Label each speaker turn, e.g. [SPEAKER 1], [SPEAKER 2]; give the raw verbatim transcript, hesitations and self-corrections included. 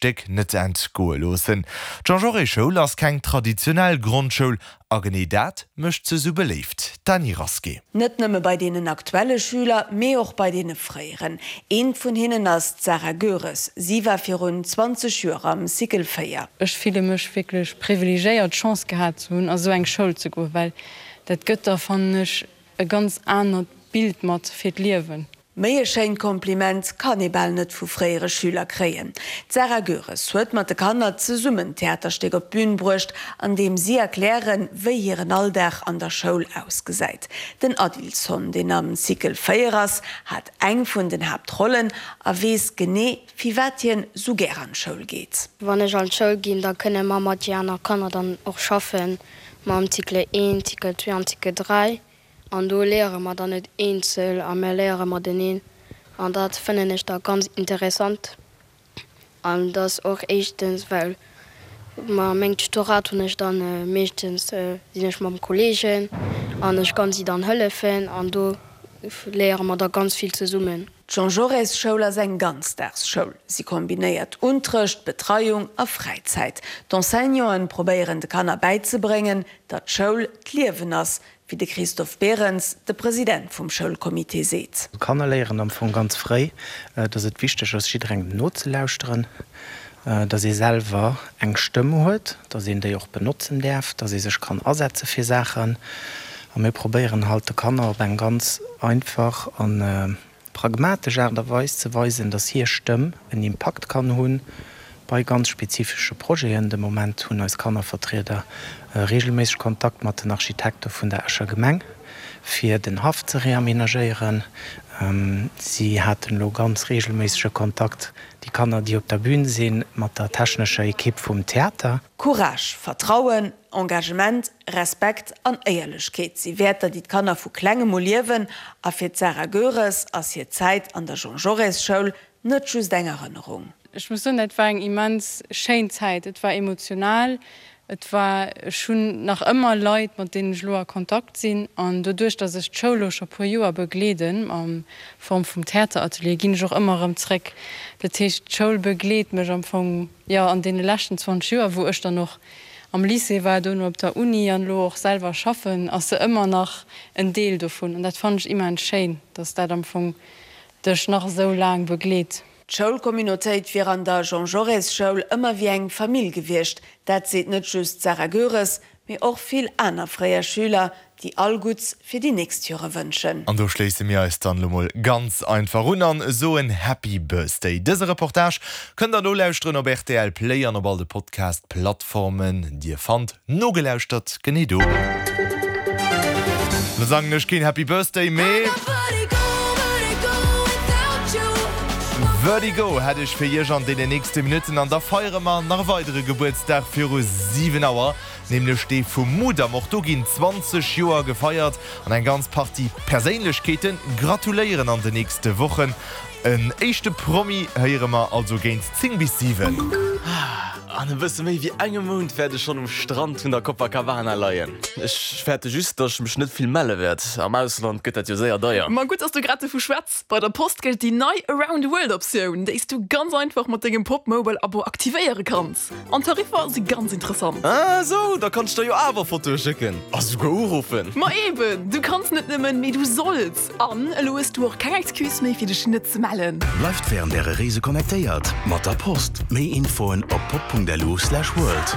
[SPEAKER 1] Stéck net entgoe loossen. D'Jean-Jaurès-Schoul ass keng traditionell Grondschoul a genee dat mécht se sou beléift. D'Dany Rasqué.
[SPEAKER 2] Net nëmme bei deenen aktuelle Schüler, mee och bei deene fréieren. Eent vun hinnen ass d'Sarah Goeres. Si war virun zwanzeg Joer am Cycle véier.
[SPEAKER 3] Ech fille mech wierklech privilegéiert, d'Chance gehat ze hunn, a sou eng Schoul ze goen, well dat gëtt der, fannen ech, e ganz anert Bild mat fir d'Liewen.
[SPEAKER 2] Méi e schéint Kompliment kann ee bal net vu fréiere Schüler kréien. D'Sarah Goeres huet mat de Kanner zesummen d'Theaterstéck op d'Bün bruecht, an deem si erklären, wéi hiren Alldag an der Schoul ausgesäit. Den Adilson, deen am Cycle véier ass, hat eng vun den Haaptrollen a weess genee, firwat hien sou gär an d'Schoul geet.
[SPEAKER 4] Wann ech an d'Schoul ginn, da kënne mer mat déi aner Kanner dann och schaffen, mam Cycle een, Cycle zwee an Cycle dräi. An do léiere mer dann net eenzel a mer léiere mateneen. An dat fënnen ech da ganz interessant. An dat ass och éischtens, well ma meng Tutorat hunn ech dann meeschtens sinn ech mam Kolleegen an ech kann si dann hëllefen an do léiere mer da ganz vill zesummen.
[SPEAKER 2] D'Jean-Jaurès-Schoul ass eng Ganzdagsschoul. Si kombinéiert Unterrecht, Betreiung a Fräizäit. D'Enseignanten probéieren de Kanner bäizebréngen, datt d'Schoul d'Liewen ass, wéi de Christophe Berens, de President vum Schoulcomité seet.
[SPEAKER 5] D'Kanner léieren am Fong ganz fréi, datt et wichteg ass, jidderengem nozelauschteren, datt ee selwer eng Stëmm huet, datt een déi och benotzen däerf, datt ee sech kann asetze fir Saachen. A mir probéieren halt de Kanner op eng ganz einfach a pragmatesch Aart a Weis ze weisen, datt hir Stëmm en Impakt kann hu bei ganz spezifesche Projeten. De Moment hunn eis Kannervertrieder reegelméisseg Kontakt mat den Architekte vun der Escher Gemeng, fir den Haff ze reamenagéieren. Si haten elo ganz reegelméissege Kontakt, déi Kanner, déi op der Bün sinn, mat der technescher Ekipp vum Theater.
[SPEAKER 2] Courage, Vertrauen, Engagement, Respekt an Éierlechkeet si Wäerter, déi d'Kanner vu Klengem u liewen. A fir d'Sarah Goeres ass hir Zäit an der Jean-Jaurès-Schoul net just eng Erënnerung.
[SPEAKER 3] Ech muss soen, dat war eng immens schéin Zäit. Et war emotional, et war, ech hunn nach ëmmer Leit, mat deenen ech elo a Kontakt sinn. An doduerch, datt ech d'Schoul elo scho puer Joer begleeden a Form vum Theateratelier, ginn ech och ëmmer erëm zréck. Dat heescht, d'Schoul begleet mech am Fong, jo, an deene leschten zwanzeg Joer, wou ech dann och am Lycée war, dono op der Uni an elo och selwer schaffen, ass se ëmmer nach en Deel dovun. An dat fannen ech immens schéin, datt dat am Fong dech nach esou laang begleet.
[SPEAKER 2] D'Schoulcommunautéit wier an der Jean-Jaurès-Schoul ëmmer wéi eng Famill gewiescht. Dat seet net just d'Sarah Goeres, mee och vill aner fréier Schüler, déi all Gutts fir déi nächst Jore wënschen.
[SPEAKER 1] An do schléisse mir eis dann elo mol ganz einfach un an soen Happy Birthday. Dëse Reportage kënnt der nolauschteren op rtl Play an op all de Podcast Plattformen. Dir fannt nogelauschtert genee do. Lo sangen ech keen Happy Birthday mee. Vertigo hätt ech fir iech an deenen nächste Minutten an da feiere mer nach e weidere Gebuertsdag viru siwen Auer, nämlech dee vum Mudam. Och do ginn zwanzeg Joer gefeiert an eng ganz Partie Perséinlechkeete gratuléieren an de nächste Wochen. En éischte Promi héiere mer also géint zéng bis siwen.
[SPEAKER 6] An e bësse méi wéi engem Mount wäert ech schonn um Strand vun der Copacabana leien. Ech fäerte just, datt ech mech net vill melle wäert. Am Ausland gëtt dat jo séier deier.
[SPEAKER 7] Ma gutt, dass du grad dovu schwätz. Bei der Post gëllt déi nei Around the World Optioun, déi s du ganz einfach mat dengem Popmobile Abo aktivéiere kanns. An d'Tariffer si ganz interessant.
[SPEAKER 6] Ah sou, da kann ech der jo awer Fotoe schécken a souguer uruffen.
[SPEAKER 7] Ma eben, du kanns net nëmmen, mee du solls! An elo hues du och keng Excuse méi fir dech net ze mellen.
[SPEAKER 8] Bleift wärend äre Reese connectéiert mat der Post. Méi Infoen op pop Punkt lu slash world.